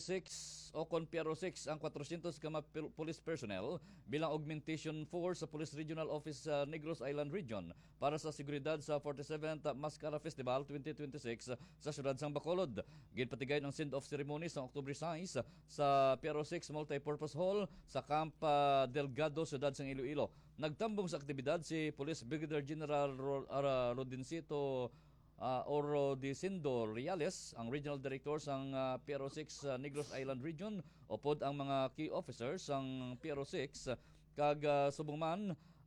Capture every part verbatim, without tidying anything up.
six o kon P R O six ang kwatrosyentos ka mga pil-, police personnel bilang augmentation force sa Police Regional Office sa Negros Island Region para sa seguridad sa forty-seventh Mascara Festival twenty twenty-six sa siyudad sang Bacolod. Ginpatigayon ang send-off ceremony sa October sais sa P R O six Multipurpose Hall sa Camp, ah, Delgado, siyudad sang Iloilo. Nagtambong sa aktibidad si Police Brigadier General Ro-, ah, Rodencito, ah, Orodicindo Reales, ang Regional Director sang, ah, P R O six, ah, Negros Island Region, upod ang mga key officers sang P R O six, kag, ah, subong man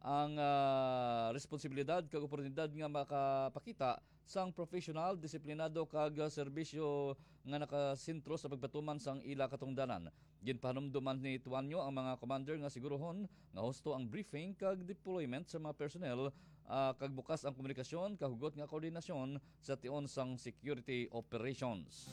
ang, ah, responsibilidad kag oportunidad nga makapakita sang professional, disiplinado, kag, ah, serbisyo nga nakasentro sa pagpatuman sang ila katungdanan. Ginpahanumduman ni Tuanyo ang mga commander nga siguruhon nga husto ang briefing kag deployment sa mga personnel, ah, kag bukas ang komunikasyon, kahugot nga koordinasyon sa tion sang security operations.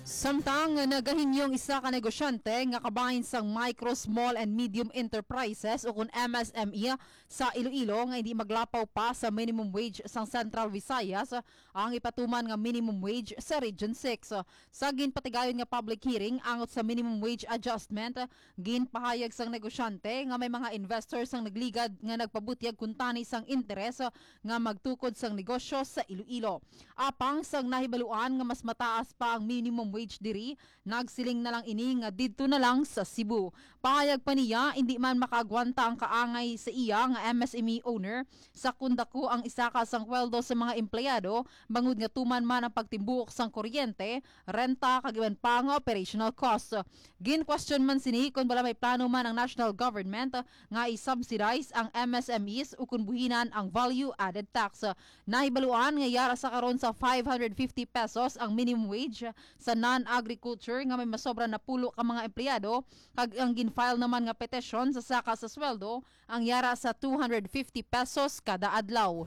Samtang nagahinyo ang isa ka negosyante nga kabahin sang Micro, Small and Medium Enterprises, o kun M S M E, sa Iloilo nga hindi maglapaw pa sa minimum wage sang Central Visayas ang ipatuman nga minimum wage sa Region six. Sa ginpatigayon nga public hearing angot sa minimum wage adjustment, ginpahayag sang negosyante nga may mga investors ang nagligad nga nagpabutyag kuntani sang interes nga magtukod sang negosyo sa Iloilo. Apang sang nahibaluan nga mas mataas pa ang minimum wage diri, nagsiling na lang ini nga didto na lang sa Cebu. Pahayag pa niya, indi man makaagwanta ang kaangay sa iya nga M S M E owner sa kun dako ang isaka sang sweldo sa mga empleyado, bangod nga tuman man ang pagtimbuok sang kuryente, renta, kag iban pa nga operational cost. Gin-question man sini kon bala may plano man ang national government nga i-subsidize ang M S M Es ukon buhinan ang value added tax. Nahibaluan nga yara sa karon sa five hundred fifty pesos ang minimum wage sa non-agriculture nga may masobra napulo ka mga empleyado, kag ang gin-file naman nga petisyon sa saka sa sweldo ang yara sa two hundred fifty pesos kada adlaw.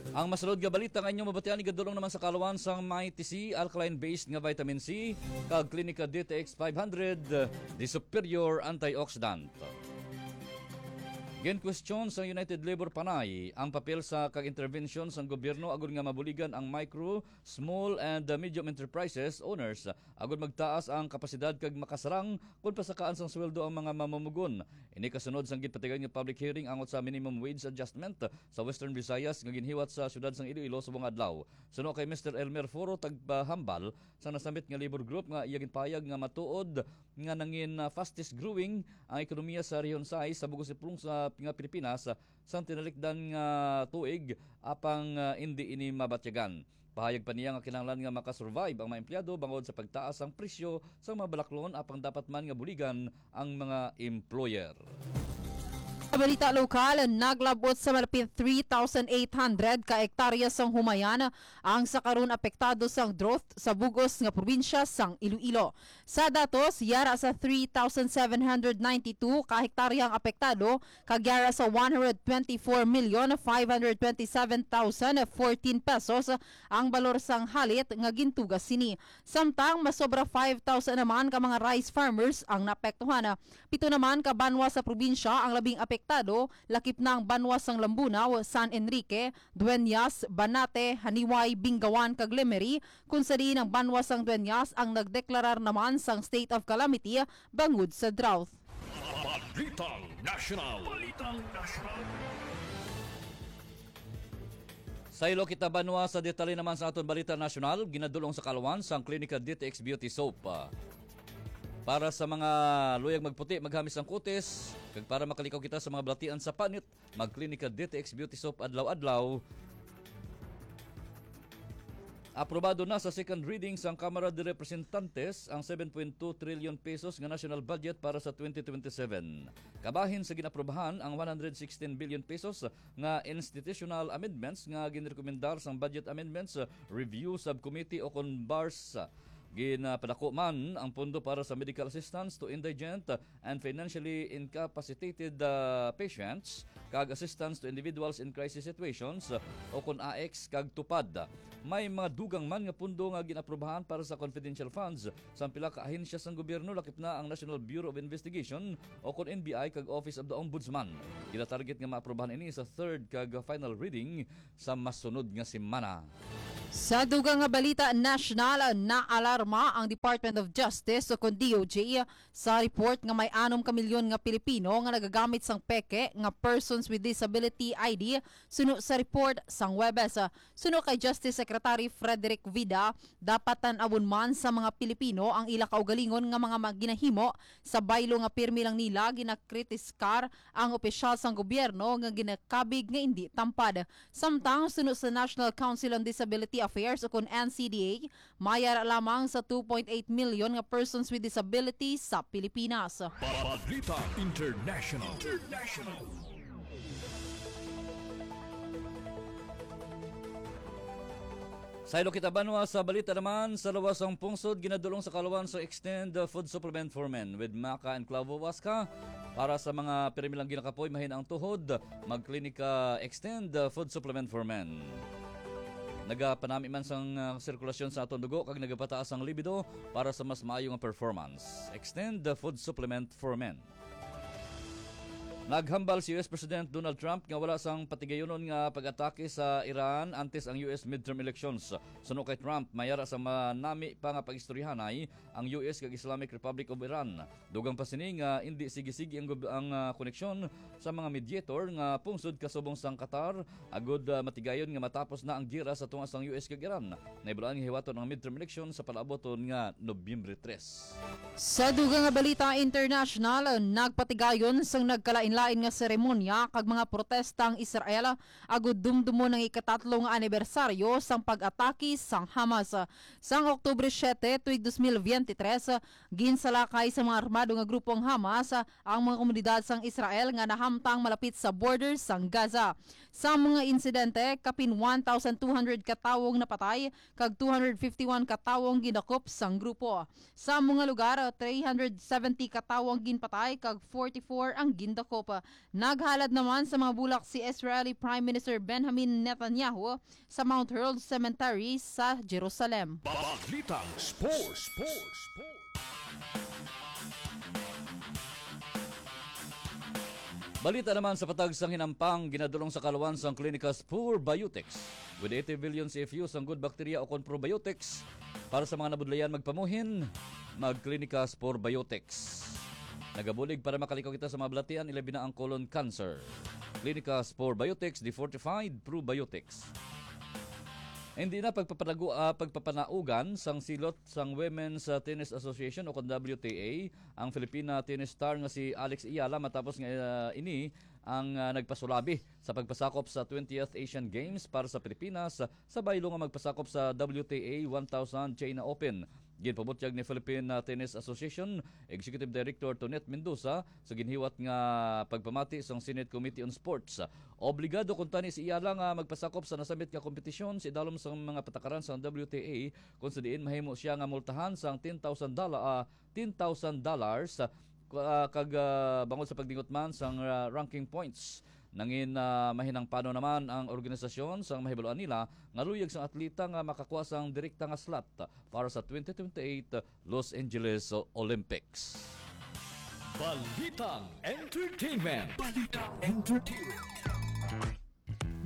Ang masulod nga balita nga inyo mabatian igadulong naman sa kaluan sang Mighty C, alkaline-based nga vitamin C, kag Clinica D T X five hundred, the superior antioxidant. Ginkwestiyon sa United Labor Panay ang papel sa kag intervention sang gobyerno agud nga mabuligan ang micro, small and, uh, medium enterprises owners agud magtaas ang kapasidad kag makasarang kon pasakaan sang sweldo ang mga mamumugon. Ini kasunod sang ginpatigayon nga public hearing angot sa minimum wage adjustment sa Western Visayas nga ginhiwat sa siyudad sang Iloilo subong adlaw. Suno kay Mister Elmer Foro, tagpahambal sang nasambit nga labor group, nga iya ginpahayag nga matuod nga nangin, ah, fastest growing ang ekonomiya sa Rehiyon sais sa bug-os nga pulong sa nga Pilipinas, ah, sang tinalikdan nga tuig, apang, ah, indi ini mabatyagan. Pahayag pa niya nga kinahanglan nga makasurvive ang mga empleyado bangod sa pagtaas sang presyo sa mga balaklon, apang dapat man nga buligan ang mga employer. Sa balita lokal, naglabot sa malapit three thousand eight hundred ka hektarya sang humayan ang sa karon apektado sang drought sa bug-os nga probinsya sang Iloilo. Sa datos, yara sa three thousand seven hundred ninety-two ka hektarya ang apektado, kag yara sa one hundred twenty-four million five hundred twenty-seven thousand fourteen pesos ang balor sang halit nga gintuga sini. Samtang masobra five thousand naman ka mga rice farmers ang naapektuhan. Pito naman ka banwa sa probinsya ang labing apektado, lakip na ang banwa sang Lambunao, San Enrique, Dueñas, Banate, Janiuay, Bingawan, kag Lemery, kun sa diin ang banwa sang Dueñas ang nagdeklarar naman sang state of calamity bangod sa drought. Balitang Nasyonal. Balitang Nasyonal. Saylo kita banwa sa detalye naman sa aton balita nasyonal, ginadulong sa kaluan sang Klinika D T X Beauty Soap. Para sa mga luyag magputi, maghamis ang kutis, kag para makalikaw kita sa mga balatian sa panit, mag-Klinika D T X Beauty Soap adlaw-adlaw. Aprobado na sa second reading sang Kamara de Representantes ang seven point two trillion pesos nga national budget para sa twenty twenty-seven. Kabahin sa ginaprobahan ang one hundred sixteen billion pesos nga institutional amendments nga ginrekomendar sang Budget Amendments Review Subcommittee o kon BARS. Ginapadako man ang pondo para sa medical assistance to indigent and financially incapacitated, ah, patients kag assistance to individuals in crisis situations, o kon AICS kag TUPAD. May mga dugang man nga pondo nga ginaprobahan para sa confidential funds sang pila ka ahensya sang gobyerno, lakip na ang National Bureau of Investigation o kon N B I kag Office of the Ombudsman. Ginatarget nga maaprobahan ini sa third kag final reading sa masunod nga semana. Sa dugang nga balita nasyonal, naalarma ang Department of Justice o kon D O J sa report nga may anom ka milyon nga Pilipino nga nagagamit sang peke nga Persons with Disability I D suno sa report sang Huwebes. Suno kay Justice Secretary Frederick Vida, dapat tan-awon man sa mga Pilipino ang ila kaugalingon nga mga ginahimo sa baylo nga pirmi lang nila ginakritikar ang opisyal sang gobyerno nga ginakabig nga indi tampad. Samtang suno sa National Council on Disability Affairs o kon N C D A, may ara lamang sa two point eight million nga persons with disability sa Pilipinas. Balita International. International. Saylo kita banwa sa balita naman, sa lawas sang pungsod ginadulong sa kaluan sa Extend Food Supplement for Men with Maca and Clavo Huasca. Para sa mga pirmi lang ginakapoy, mahina ang tuhod, magklinika Extend Food Supplement for Men. Nagapanami man sang, ah, sirkulasyon sa aton dugo kag nagapataas ang libido para sa mas maayo nga performance. Extend Food Supplement for Men. Naghambal si U S President Donald Trump nga wala sang patigayunon nga pag-atake sa Iran antes ang U S midterm elections. Suno kay Trump, may ara sa manami pa nga pag-istoryahanay ang U S kag Islamic Republic of Iran. Dugang pa sini nga indi sige-sige ang gob-, ang, ah, koneksyon sa mga mediator nga pungsod kasubong sang Qatar, agud, ah, matigayon nga matapos na ang giyera sa tunga sang U S kag Iran. Nahibaluan nga hiwaton ang midterm election sa palaabuton nga Nobyembre tres. Sa dugang nga balita international, nagpatigayon sang nagkalain-lain nga seremonya kag mga protesta ang Israel agud dumdumon ang ikatatlo nga anibersaryo sang pag-atake sang Hamas. Sang Oktubre siete, tuig dos mil biyente tres, ginsalakay sa mga armado nga grupo ang Hamas ang mga komunidad sang Israel nga nahamtang malapit sa border sang Gaza. Sa mga insidente, kapin one thousand two hundred ka tawo ang napatay kag two hundred fifty-one ka tawo ang gindakop sang grupo. Sa mga lugar, three hundred seventy ka tawo ang ginpatay kag forty-four ang gindakop. Naghalad naman sa mga bulak si Israeli Prime Minister Benjamin Netanyahu sa Mount Herzl Cemetery sa Jerusalem. Balitang Sports. Balita naman sa patag sang hinampang, ginadulong sa kaluan sang Klinika Spur Biotics. With eighty billion C F U sang good bacteria o kon probiotics, para sa mga nabudlayan magpamuhin, mag-Klinika Spur Biotics. Nagabulig para makalikaw kita sa mga balatian, ilabi na ang colon cancer. Klinika Spur Biotics, the fortified probiotics. Hindi na pagpapalagu-, ah, pagpapanaugan sang silot sang Women's, ah, Tennis Association o kon W T A ang Filipina tennis star nga si Alex Eala matapos nga, ah, ini ang, ah, nagpasulabi sa pagpasakop sa twentieth Asian Games para sa Pilipinas sa baylo nga magpasakop sa W T A one thousand China Open. Ginpabutyag ni Philippine, ah, Tennis Association Executive Director Tonet Mendoza sa ginhiwat nga pagpamati sang Senate Committee on Sports. Obligado kuntani si Eala nga magpasakop sa nasambit nga kompetisyon sa idalom sang mga patakaran sang W T A, kung sa diin mahimo siya nga multahan sang ten thousand dola-, ah, ten thousand dollars, ah, ku-, ah, kag, ah, bangod sa pagdingot man sang, ah, ranking points. Nangin, ah, mahinangpano naman ang organisasyon sang mahibaluan nila nga luyag sang atleta nga makakuha sang direkta nga slot para sa twenty twenty-eight Los Angeles Olympics. Balitang Entertainment. Balitang Entertainment.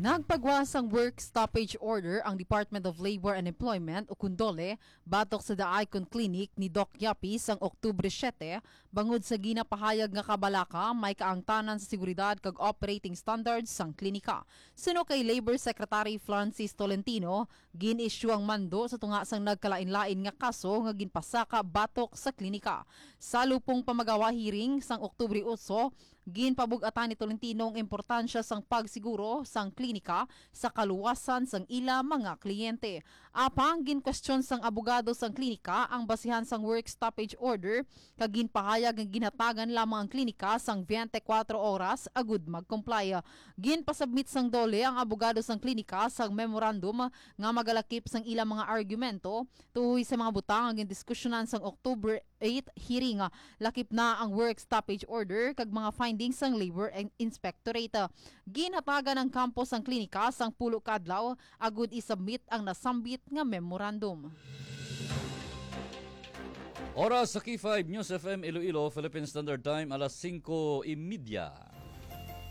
Nagpagawa sang work stoppage order ang Department of Labor and Employment o kon DOLE batok sa The Icon Clinic ni Doc Yapi sang Oktubre siete, bangod sa ginapahayag nga kabalaka may kaangtanan sa seguridad kag operating standards sang klinika. Suno kay Labor Secretary Francis Tolentino, gin-issue ang mando sa tunga sang nagkalain-lain nga kaso nga ginpasaka batok sa klinika. Sa lupong pamagawa hearing sang Oktubre otso, ginpabug-atan ni Tolentino ang importansya sang pagsiguro sang klinika sa kaluwasan sang ila mga kliyente. Apang ginkwestiyon sang abogado sang klinika ang basihan sang work stoppage order, kag ginpahayag nga ginhatagan lamang ang klinika sang twenty-four oras agud mag-comply. Ginpasubmit sang DOLE ang abogado sang klinika sang memorandum nga magalakip sang ilang mga argumento tuhoy sa mga butang nga gindiskusyonan sang October eight hearing. Lakip na ang work stoppage order kag mga findings sang Labor and Inspectorate. Ginhatagan ang kampo sang klinika sang pulo ka adlaw agud i-submit ang nasambit nga memorandum. Oras sa K five News F M Iloilo, Philippine Standard Time, alas singko y media.